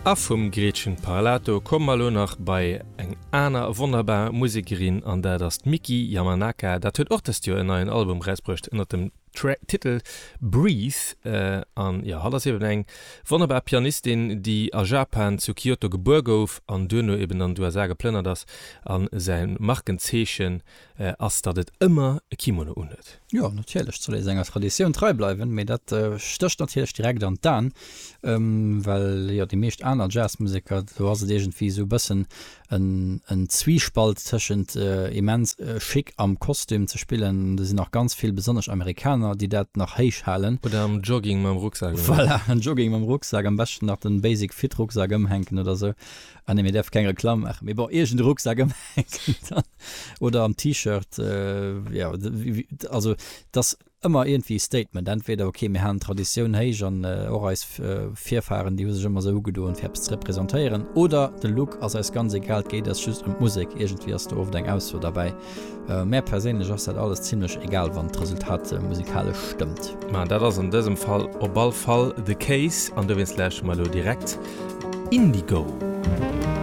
A vum Gretchen Parlato komme mer elo nach bei eng aner wonnerbar Musekerin an dat ass d'Miki Yamanaka. Dat huet och dëst Joer en neien Album erausbruecht ënnert dem Titel Breathe. An jo, hatt ass eben eng wonnerbar Pianistin, déi a Japan zu Kyoto gebuer gouf an duerno eben an d'USA geplënnert ass. A säi Markenzeechen ass, datt et ëmmer e Kimono unhuet. Jo, natierlech soll ee senger Traditioun trei bleiwen, mee dat stécht natierlech direkt an d'Aen, well jo déi meescht aner Jazzmuseker, do ass et iergendwéi esou e bëssen en Zwiespalt tëschent immens chic am Kostüm ze spillen, do sinn och ganz vill, besonnesch Amerikaner, déi dat nach héich halen. Oder am Jogging mam Rucksak. Voilà, am Jogging mam Rucksak, am beschten nach den Basic Fit Rucksak ëmhänken oder esou. Ah nee, mir däerfe keng Reklamm maachen, mee bon, iergend e Rucksak ëmhänken dann oder am T-Shirt, jo, also et ass ëmmer iergendwéi e Statement, entweder ok, mir halen d'Traditioun héich an och eis Virfahren, déi hu sech ëmmer esou ugedoen, fir eppes ze representéieren, oder de Look ass eis ganz egal, et geet eis just ëm d'Musek. Iergendwéi ass do oft eng Ausso derbäi. Mär perséinlech ass dat alles zimlech egal, wann d'Resultat musikalesch stëmmt. Ma dat ass an dësem Fall op all Fall the case an dowéinst lauschteren mer elo direkt Indigo.